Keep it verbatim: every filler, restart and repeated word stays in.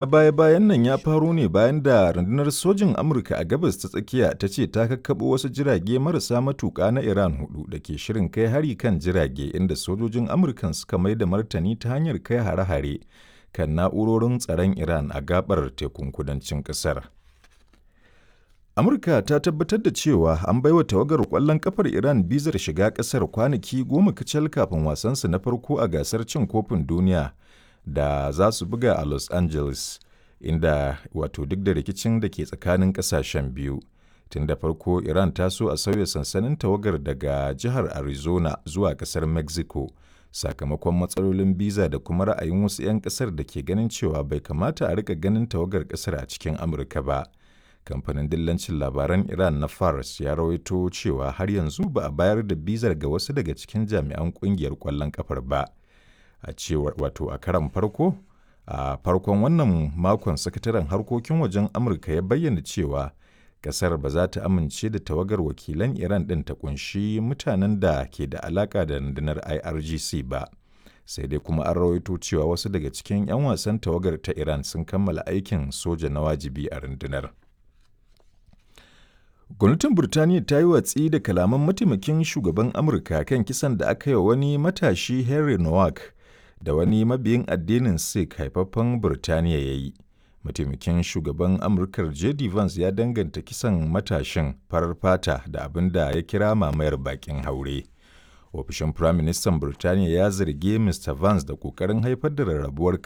Na baya-bayan nan ya faro ne bayan da Rundunar Sojin Amurka a Gabas ta Tsakiya ta ce ta kakkaɓo wasu jirage marasa matuƙa na Iran huɗu da ke shirin kai hari kan jirage, inda sojojin Amurkan suka mai da martani ta hanyar kai hare-hare kan na'urorin tsaron Iran a gaɓar tekun kudancin ƙasar. Amurka ta tabbatar da cewa an baiwa tawagar ƙwallon ƙafar Iran bizar shiga ƙasar kwanaki goma kacal kafin wasansu na farko a gasar Cin Kofin Duniya da za su buga a Los Angeles, inda wato duk da rikicin da ke tsakanin ƙasashen biyu. Tun da farko Iran ta so a sauya sansanin tawagar daga jihar Arizona zuwa ƙasar Mexico, sakamakon matsalolin biza da kuma ra'ayin wasu 'yan ƙasar da ke ganin cewa bai kamata a riƙa ganin tawagar ƙasar a cikin Amurka ba. Kamfanin dillancin labaran Iran na Fars ya rawaito cewa har yanzu ba a bayar da bizar ga wasu daga cikin jami'an ƙungiyar ƙwallon ƙafar ba. A cewar wato a karan farko, a farkon wannan makon sakataren harkokin wajen Amurka ya bayyana cewa ƙasar ba za ta amince da tawagar wakilan Iran ɗin ta ƙunshi mutanen da ke da alaƙa da rundunar I R G C ba. Sai dai kuma an rawaito cewa wasu daga cikin 'yan wasan tawagar ta Iran sun kammala aikin soja na wajibi a rundunar. Gwamnatin Burtaniya ta yi watsi da kalaman mataimakin shugaban Amurka kan kisan da aka yi wa wani matashi Henry Nowak da wani mabiyin addinin Sikh haifaffen Burtaniya ya yi. Mataimakin shugaban Amurkar J D. Vance ya danganta kisan matashin farar fata da abin da ya kira mamayar bakin haure. Ofishin Firaministan Burtaniya ya zargi Mister Vance da ƙoƙarin haifar da rarrabuwar